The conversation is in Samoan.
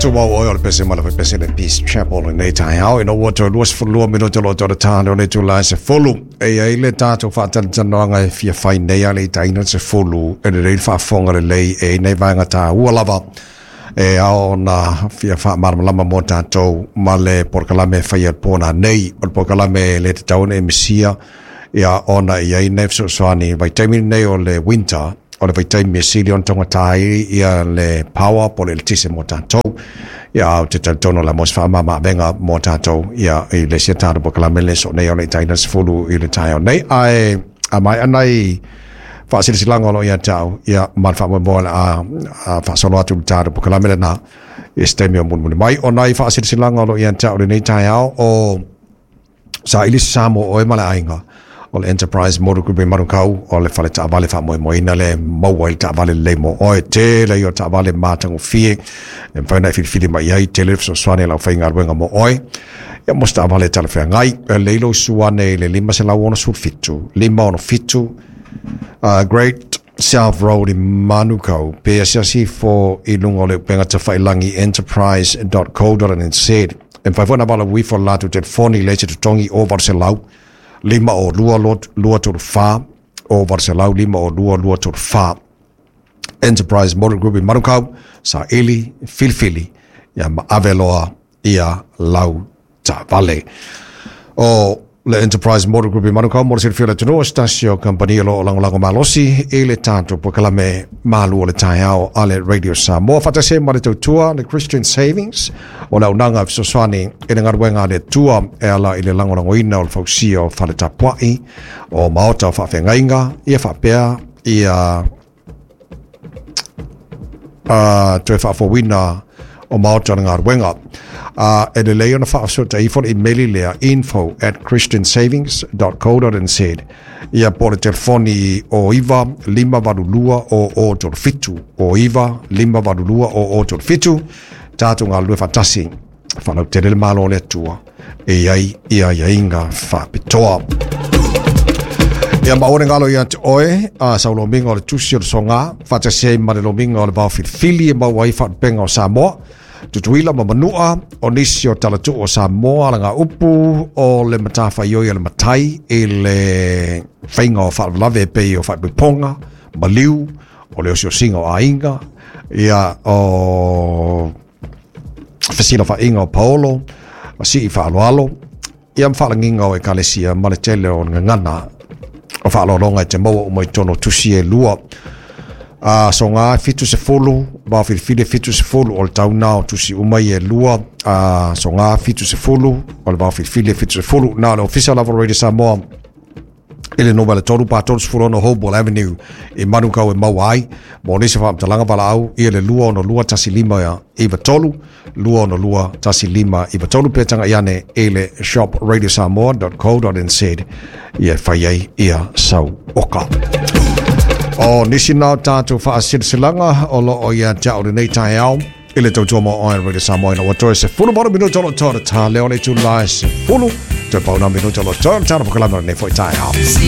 Tumau oe o le pese ma le pese le Peace Chapel lenei taeao ina ua toe 22 minute o lo o toe ta lea o le itula e 10. E i ai le tatou faatalatalanoaga e fia fai nei a le itaina le 10 e lelei le faafofoga lelei e i ai nai vaega taua lava e ao ona fia faamalamalama mo tatou ma le polokalame e faia i le po nanei. O le polokalame e le tatau ona e misia ia ona e i ai nai fesoasoani i le vaitaimi lenei o le winter, o le vaitaimi e sili ona taugata ai ia le power po o le eletise mo tatou. Ia ae ou te talitonu o le a maua se faamama-avega mo tatou ia i le isi a tatou polokalame le soo nei o le itaina le 10 i le taeao nei. Ae a maea nai faasilasilaga o lo o ia te au, ia ma le faamoemoe o le a faasolo atu i le tatou polokalame lena i se taimi o mulimuli mai. O nai faasilasilaga o lo o ia te au i lenei taeao, o saili se sa mo oe ma le aiga, o le Enterprise Motor Group i Manukau, o le fale taavale faamoemoeina lea e maua ai le taavale lelei mo oe. Tele ia o taavale matagofie e mafai ona e filifili mai ai, tele le fesoasoani a le aufaigaluega mo oe. Ia mo se taavale e talafeagai, e lelei lou susu ane i le 567 567 Great South Road i Manukau, pe asiasi ifo i luga o le upega tafailangi enterprise.co.nz. E mafai foi ona valaau ifo i le latou telefoni i le isi totogi o 800 502 234 o 800 502 234. Enterprise Motor Group i Manukau, saili, filifili, ia ma ave loa ia lau taavale. O le Enterprise Motor Group i Manukau mo le silafia o le atunuu, o se tasi o kamupani o lo o lagolago malosi i le tatou polokalame malu o le taeao a le Radio Samoa. Faatasi ai ma le tautua le Christian Savings o le auaunaga e fesoasoani i le galuega a le Atua e ala i le lagolagoina o le fausia o fale tapuai, o maota o faafeagaiga, ia faapea ia toe faafouina o maota o le galuega. E lelei ona faafesootai ifo le imeli lea info@christiansavings.co.nz ia po o le telefoni o 9 582 o o 37 o 9 582 o o 37. Tatou galulue faatasi faalautele le Malo o le Atua e i ai ia aiaiga faapitoa. Ia ma aua ne galo ia te oe a sau lomiga o le tusi o le soga faatasi ai ma le lomiga o le vaofilifili e maua ai faalupega o Samoa, Tutuila ma Manua, o nisi o talatuu o Samoa, alagaupu o le matafaioi a le matai i le faiga o faalavelave e pei o faaipoipoga, maliu, o le osiosiga o aiga, ia o fesilafaiga o paolo, ma sii faaaloalo, ia ma faalagiga o ekalesia ma le tele o gagana o faaaloaloga e te maua uma i totonu o tusi e lua. A soga 70, vaofilifili e 70, o le tau na o tusi uma ia e lua. A soga 70, o le vaofilifili e 70. Na o le Ofisa lava o Radio Samoa i le numera 3 pa 36 Hopewell Avenue i Manukau e maua ai. Mo nisi faamatalaga valaau ia le 262 15 93, 262 15 93 pe tagai ane i le shopradiosamoa.co.nz ia e fai ai ia sau oka. O nisi na o tatou faasilasilaga o lo o ia te au lenei taeao i le tautua mo oe Radio Samoa ina ua toe 18 minuta o lo o toe ta leo le itula e 10 toe pau na minuta o lo o toe ta na polokalame o lenei foi taeao.